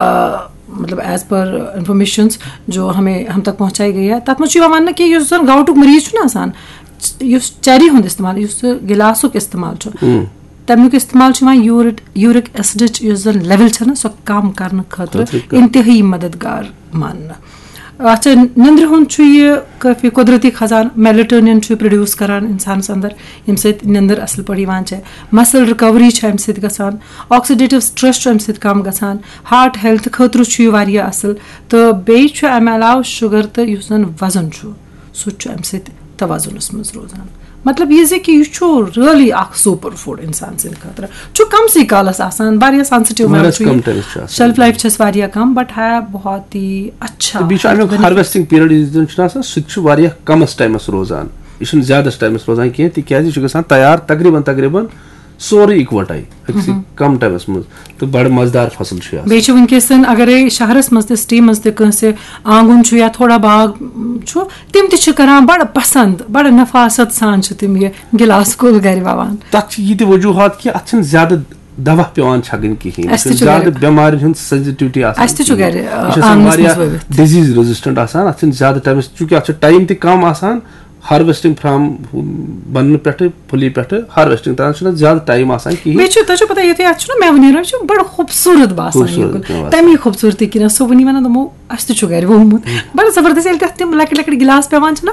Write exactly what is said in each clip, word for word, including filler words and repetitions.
آ، مطلب as per informations جو ہمیں ہم تک پہنچائی گئی ہے، تَتھ منٛز چھُ یِوان وننہٕ کہِ یُس زَن گاوٹُک مریض چھُنہ آسان، یُس چرری ہُنٛد استعمال، یُس سُہ گِلاسُک استعمال چھُ، تَمیُک استعمال چھُ یِوان یوٗرِک یوٗرِک ایسڈٕچ یُس زَن لیول چھَنہ، سۄ کم کرنہٕ خٲطرٕ خٲطرٕ کم۔ انتہٲیی مددگار ماننہٕ۔ اچھا، نندرِ ہُنٛد چھُ یہِ کٲفی قۄدرٔتی خزانہٕ، میلیٹونین چھُ پروڈیوس کران انسانس اندر، ییٚمہِ سۭتۍ نندٕر اصل پٲٹھۍ یِوان چھےٚ۔ مسل ریکوری چھِ امہِ سۭتۍ گژھان، آکسیڈیٹو سٹریس چھُ امہِ سۭتۍ کم گژھان، ہارٹ ہیلتھ خٲطرٕ چھُ یہِ واریاہ اصل۔ تہٕ بیٚیہِ چھُ امہِ علاوٕ شُگر تہٕ یُس زن وزن چھُ، سُہ تہِ چھُ امہِ سۭتۍ توازنس منٛز روزان۔ مطلب یہِ زِ کہِ یہِ چھُ ریئلی اکھ سپر فوڈ انسان سٕنٛدِ خٲطرٕ۔ چھُ کمسٕے کالس آسان، واریاہ سینسٹیو میم واریاہ چھُ یہِ۔ کم ٹائمس چھُ آسان۔ شیلف لائف چھس واریاہ کم، بٹ ہے بہت ہی اچھا۔ تہٕ بیٚیہِ چھُ امیُک ہارویسٹنگ پیریڈ یُس زن چھُنہٕ آسان، سُہ تہِ چھُ واریاہ کمس ٹائمس روزان۔ یہِ چھُنہٕ زیادس ٹائمس روزان کینٛہہ، تِکیازِ یہِ چھُ گژھان تیار تقریباً تقریباً سورُے اِکوَٹَے أکسٕے کم ٹایمَس منٛز، تہٕ بَڑٕ مَزٕدار فصل چھُ یہِ آسان۔ بیٚیہِ چھُ وٕنکیٚس زَن اگرے شہرَس منٛز تہِ، سٹی منٛز تہِ کٲنٛسہِ آنٛگُن چھُ یا تھوڑا باغ چھُ، تِم تہِ چھِ کران بَڑٕ پسنٛد، بَڑٕ نفاست سان چھِ تِم یہِ گِلاس کُل گرِ وَوان۔ تَتھ چھِ یہِ تہِ وجوٗہات کہِ اَتھ چھِنہٕ زیادٕ دوا پٮ۪وان چھَکٕنۍ کِہیٖنۍ، اَسہِ تہِ یہِ چھُ چھُنہٕ زیادٕ گرِ۔ بٮ۪مارٮ۪ن ہُنٛد سینسٹیوٹی آسان اَسہِ تہِ چھُ کِہیٖنۍ۔ گرِ، یہِ چھُ آسان آنٛگنَس منٛز واریاہ ؤوِتھ۔ ڈِزیٖز ریزسٹنٹ آسان، اَتھ چھِنہٕ زیادٕ ٹایمَس، چوٗنٛکہِ اَتھ چھُ ٹایم تہِ کم آسان، ہارویسٹنگ فرام بننہٕ پٮ۪ٹھٕ، پھُلی پٮ۪ٹھٕ ہارویسٹنگ تام چھُنہٕ زیادٕ ٹایم آسان کِہیٖنۍ۔ بیٚیہِ چھُ، تۄہہِ چھو پتہ، یُتھُے اَتھ چھُنہ مٮ۪وٕ نیران، یہِ چھُ بڑٕ خوٗبصوٗرت باسان یہِ خوٗبصوٗرت کُل۔ پٮ۪وان۔ تَمی خوٗبصوٗرتی کِنۍ ٲس سُہ وٕنی وَنان، دوٚپمو، اَسہِ تہِ چھُ گرِ ووٚمُت۔ بڑٕ زبردست، ییٚلہِ تَتھ تِم لۄکٕٹۍ لۄکٕٹۍ گِلاس پٮ۪وان چھِنہ،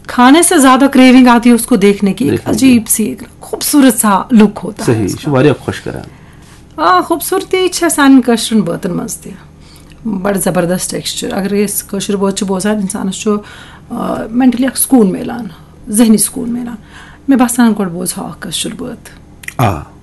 کھانے سے زیادہ کریونگ آتی ہے اس کو دیکھنے کی، ایک دیکھنے کی۔ عجیب سی، ایک خوٗبصوٗرت سا لُک ہوتا ہے صحیح، اس یہِ چھُ کا۔ واریاہ خۄش کران۔ آ، خوٗبصوٗرتی چھےٚ سانٮ۪ن کٲشرٮ۪ن بٲتَن منٛز تہِ۔ بَڑٕ زبردست ٹیکسچر۔ اگر أسۍ کٲشِر بٲتھ چھِ بوزان، اِنسانَس چھُ، آ، مینٹلی اَکھ سکوٗن میلان، ذہنی سکوٗن میلان۔ مےٚ باسان، گۄڈٕ بوزہا اَکھ کٲشِر بٲتھ۔ آ۔